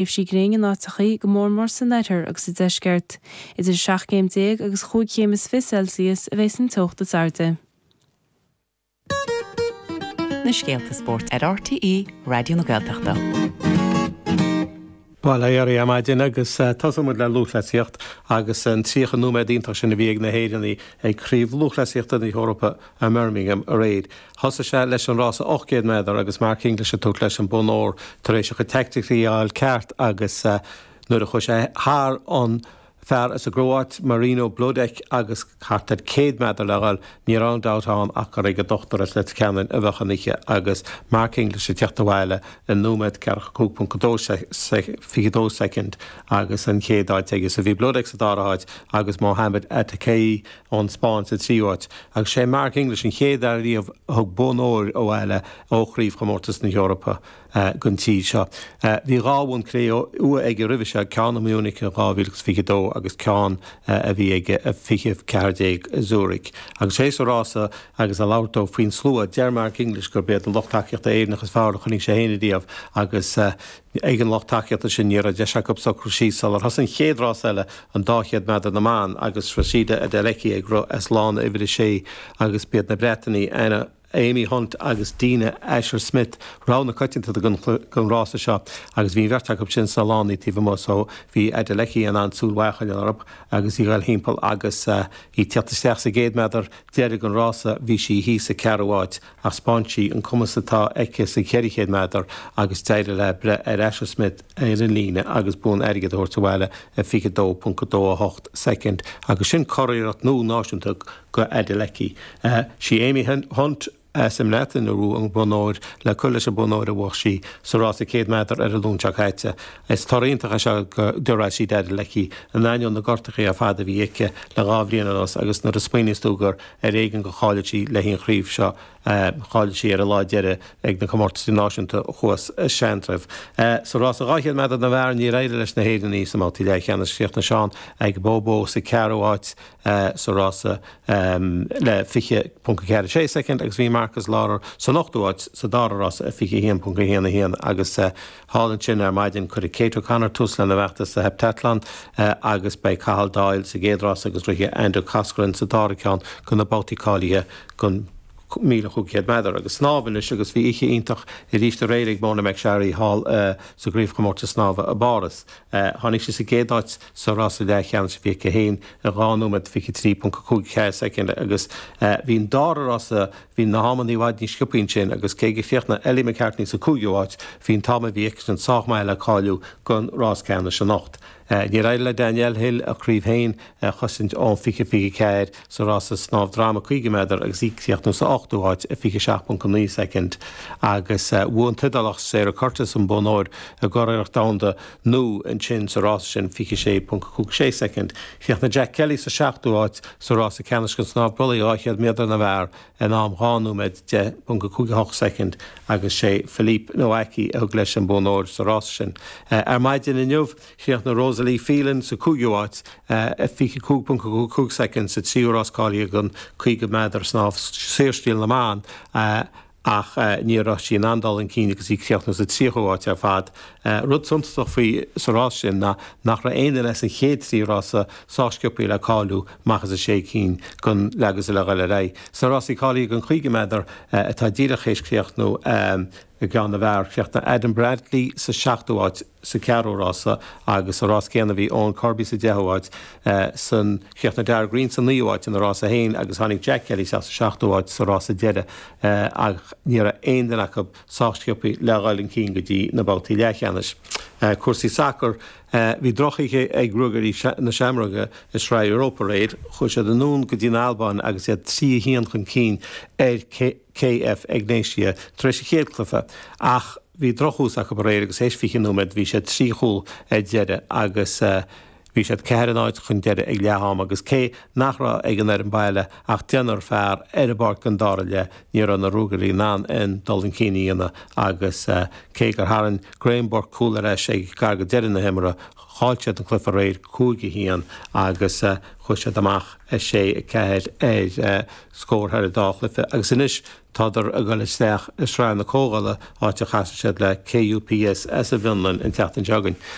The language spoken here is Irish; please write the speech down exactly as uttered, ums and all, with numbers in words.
Tréimhsí gréine in áiteachaí, go mór mór san oirthear agus sa deisceart. Idir seacht gcéim déag agus chúig chéim is fiche Celsius a bheas an teocht is airde. Na scéalta spóirt ar R T É Raidió na Gaeltachta. Bail ó Dhia ar maidin agus tosóidh muid le lúthchleasaíocht agus an tríocha nóiméad iontach sin a bhí ag na hÉireannaigh ag Craobh Lúthchleasaíochta na hEorpa i mBirmingham aréir. Thosaigh sé leis an rása ocht gcéad méadar agus Mark English ag tabhairt leis an bonn óir tar éis a chuid teaicticí a fháil ceart agus nuair a chuaigh sé thar an fear as an gCróit, Marino Bloudek, agus thart ar céad méadar le dhul, ní raibh aon dabht ann ach gur ag an dochtúir as Leitir Ceanainn a bheadh an oíche agus Mark English ag teacht abhaile i nóiméad ceathracha cúig ponc dó fiche dó soicind agus an chéad áit aige. So bhí Bloudek sa dara háit agus Mohamed Attakai ón Spáinn sa tríú háit. Agus sé Mark English an chéad fhear riamh a thug bonn óir abhaile ó chraobhchomórtas na hEorpa don tír seo. Bhí dhá bhonn cré-umha aige roimhe seo, ceann i Munich in dhá mhíle fiche dó agus ceann a bhí aige fiche ceathair déag i Zurich. Agus théis an rása agus ag labhairt dó faoin slua, deir Mark English gurb iad an lucht tacaíochta Éireannach is fearr a chonaic sé féin riamh agus ag an lucht tacaíochta sin ní raibh deis acu socrú síos sular thosaigh an chéad rás eile, an dá chéad méadar na mban, agus Rhasidat Adeleke ag rith as lána uimhir a sé agus b'iad na Breatanaigh Anna Amy Hunt agus Dina Asher Smith rogha na coitianta don rása seo agus bhí beirt acu sin sna lánaí taobh amuigh, so bhí Adeleke in ann súil mhaith a choinneáil orthu agus í ag dul timpeall agus í ag teacht isteach sa gcéad méadar deiridh an rása, bhí sí thíos sa ceathrú háit ach 'spáin sí an cumas atá aici sa cheithre chéad méadar agus d'éirigh léi breith ar Asher Smith ar an líne agus bonn airgid a thabhairt abhaile i fiche dó ponc dó a hocht soicind agus sin curiarracht nua náisiúnta go Adeleke. Sí Amy Hunt as an mBreatain a bhuaigh an bonn óir le cur leis an bonn óir a bhuaigh sí sa rása céad méadar ar an Luan seo caite. Is toradh iontach é seo do Rhasidat Adeleke in ainneoin na gortuithe ar fad a bhí aici le dhá bhliain anuas agus nuair a smaoiníos tú gur ar éigean gur cháiligh sí le haghaidh an chraobh seo, cháiligh sí ar an lá deiridh ag na comórtais náisiúnta thuas i Seantrabh. Sa rása dhá chéad méadar na bhfear, níor éirigh leis na hÉireannaigh sa mbabhtaí leathcheannais. Chríochnaigh Seán Aigboboh sa ceathrú háit sa rása le fiche ponc ceathair sé soicind agus bhí Marcus Lawler san ochtú háit sa dara rása i fiche haon ponc haon a haon. Agus thall ansin ar maidin, cuirfidh Kate O'Connor tús lena bhfeachtas sa heptathlon agus beidh Cathal Doyle sa gcéad rás agus rithfidh Andrew Coscoran sa dara ceann de na babhtaí cáilithe don míle chúig chéad méadar. Agus snámh anois, agus bhí oíche iontach arís aréir ag Mona McSharry thall sa gcraobhchomórtas snámha i bPáras. Tháinig sí sa gcéad áit sa rása leathcheannais a bhí aici féin i dhá nóiméad fiche trí ponc cúig ceathair soicind agus bhí an dara rása, bhí na hamanna i bhfad níos sciobtha ansin agus cé gur chríochnaigh Ellie McCartney sa cúigiú háit, bhí an t-am a bhí aici sin sách maith le cáiliú don rás ceannais anocht. Níor éirigh le Danielle Hill a craobh féin a chosaint ón fiche fiche ceathair sa rása snámh droma caoga méadar agus í ag críochnú sa ochtú háit i fiche seacht ponc naoi soicind agus bhuaigh an tIodálach Sara Curtis an bonn óir i gcuriarracht domhanda nua ansin sa rása sin, fiche sé ponc cúig sé soicind. Chríochnaigh Jack Kelly sa seachtú háit sa rása ceannais den snámh brollaigh dhá chéad méadar na bhfear in am dhá nóiméad deich ponc cúig a hocht soicind agus sé Philippe Nowacki a thug leis an bonn óir sa rása sin. Ar maidin inniu, chríochnaigh Rosalie Phelan sa cúigiú háit i fiche cúig ponc cúig soicind sa tríú rás cáilithe don caoga méadar snámh saorstíl na mban ach ní raibh sí in ann dul chun cinn agus í ag críochnú sa tríochú háit ar fad. Rud suntasach faoi sa rás sin ná nach raibh aon duine as an chéad trí rása sách sciobtha le cáiliú amach as a sé cinn don leath le dhul ar aghaidh. Sna rásaí cáilithe don chaoga méadar atá díreach théis críochnú i gceann na bhfear, chríochnaigh Adam Bradley sa seachtú háit sa ceathrú rása agus sa rás céanna bhí Eoin Kirby sa deichiú háit. San chríochnaigh Dara Green sa naoú háit ina rása féin agus tháinig Jack Kelly isteach sa seachtú háit sa rása deiridh ach ní raibh aon duine acu sách sciobtha le dhul chun cinn go dtí na babhtaí leathcheannais. Cúrsaí sacair. Bhí drochoíche ag Ruagairí na Seamróige i Sraith Europa aréir. Chuaigh siad anonn go dtí an Albáin agus iad trí a haon chun cinn ar K F Egnatia tar éis an chéad chluiche ach bhí drochthús acu aréir agus théis fiche nóiméad bhí siad trí chúl ar deireadh agus Bhí siad ceathair a náid chun deiridh ag leath ama agus cé nach raibh ag an fhoireann baile ach deichniúr fear ar an bpáirc don dara leath, ní raibh na Ruagairí in ann aon dul chun cinn a dhéanamh agus cé gur tharraing Graham Burke cúl ar ais ag gar go deireadh na himeartha, chaill siad an cluiche aréir cúig a haon agus chuaigh siad amach a sé a ceathair ar scór thar an dá chluiche agus anois tádar ag dul isteach i Sraith na Comhdhála áit a chasfaidh siad le KUPS as an bhFionlainn an tseachtain seo chugainn.